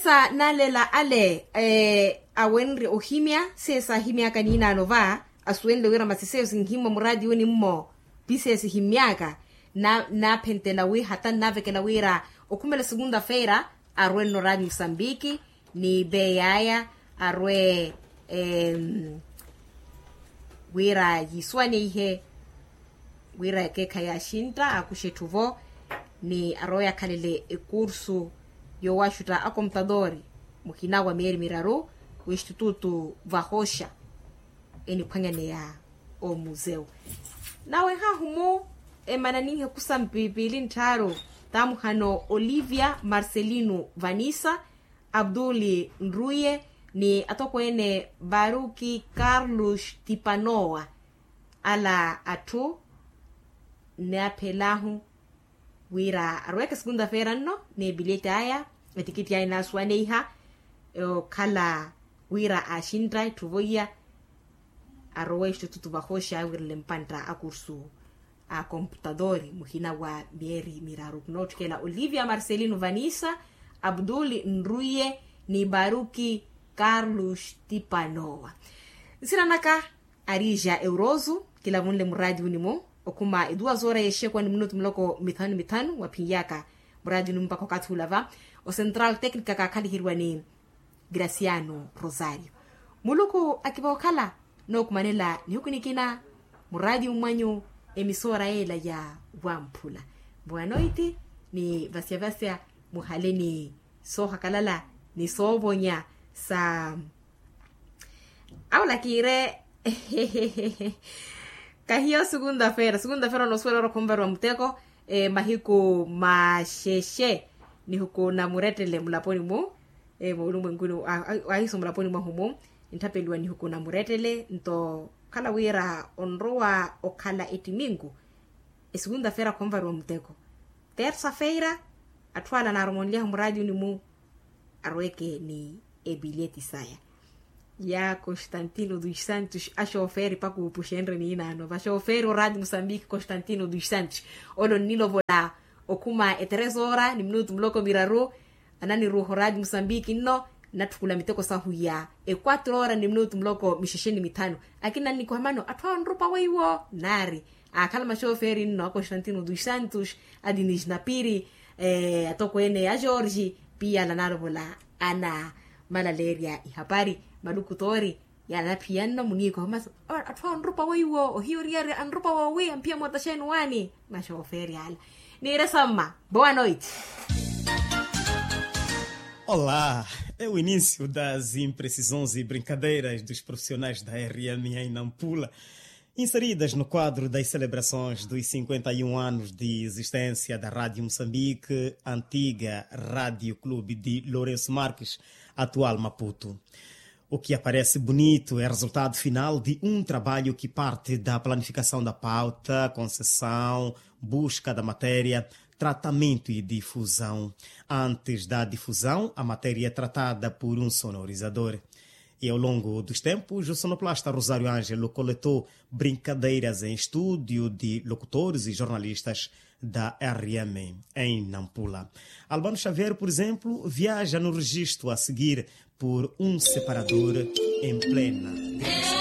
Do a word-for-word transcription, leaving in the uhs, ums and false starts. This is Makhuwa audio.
Sa nalela ale awenrye ohimya sesahimyaka ninaano va asuwenle wira masi seyo sinhimwa muradi wuni mmo. Pisesi himmyaka naphentela wi hata nnavekela wira okhumela segunda feira arwe nno radi musambiki ni beyi aya arwe wira yiiswaneihe wira ekeekhayi axintta akuxe etthu vo ni arowe akhalele ekursu yowaxutta akomputadori muhina wa miyeri miraru w'estitutu vahoxa eniphwanyaneya omuzeu. Nawe hahu mu emananinhe kusampi piili nttharu tamuhano olivia marcelino vanisa abduli nruye ni atokweene baruki carlos tipanowa ala atthu nnaaphelahu wira arweke segunda feira nno n'ebileti aya etikitti aya inaasuwaneiha okhala wira aaxintta etthu voiya arowe estitutu vahoxa awirile mpantta akursu a komputadori muhina wa miyeri miraru khunootthikela olivia marcelino vanisa abduli nruye ni baruki carlos tipanowa. Nsina naka arija euroso kilavunle muraadi wuni mu okhuma eduwa zora yexekwa ni minutu muloko mithanu mithanu waphinyaka muraadi wuni mu mpakha okathi ula va ocentral tecnica kaakhaliheriwa ni graciano rosario. Muluku akiva okhala nookumanela nihuku nikina muraadi wumwanyu emisora yeela ya wamphula. Boa noite ni vasyavasya muhale ni soohakalala ni soovonya sa aula kiire. Kahiyo segunda feira segunda feira onosuwela ora khunvariwa muteko mahiku maxexe nihuku na murettele mulaponi mu moolumwenkuni ahiso mulaponi mwahu mu ntthappeliwa nihuku na murettele nto okhala wira onrowa okhala ettiminku esegunda feira khunvariwa muteko tersa feira atthu ala anaaromonlyahu muraadi wuni mu arweke ni ebileti saya ya constantino dos santos axoferi pakuupuxenre niinaano vaxoferi oraadi musambiki constantino dos santos ole onnilovola okhuma eteresora ni minutu muloko miraru ananiruuha oraadi musambiki nno nnatthukula miteko sahu ya equatro ora ni minutu muloko mixexe ni mithanu akina nnikoha mano atthu awo anrupa weiwo naari aakhala maxoferi nno a constantino dos santos a dinis napiri atokweene a george piyala naalovola ana malaleerya ihapari maluku toori yala naphiya nno muniikoha masi atthu awo anrupa weiwo ohiya oriyari anrupa woowi amphiya mootaxeeni waani maxoferi ala niire samma boa noite. Olá, é o início das imprecisões e brincadeiras dos profissionais da rma em nampula inseridas no quadro das celebrações dos cinquenta e um anos de existência da rádio moçambique antiga rádio clube de lourenço marques, atual maputo. O que aparece bonito é resultado final de um trabalho que parte da planificação da pauta concessão, busca da matéria, tratamento e difusão. Antes da difusão a matéria é tratada por um sonorizador. E ao longo dos tempos o sonoplasta rosário ângelo coletou brincadeiras em estúdio de locutores e jornalistas da rma em nampula. Albano xavier por exemplo viaja no registro a seguir por um separador em plena.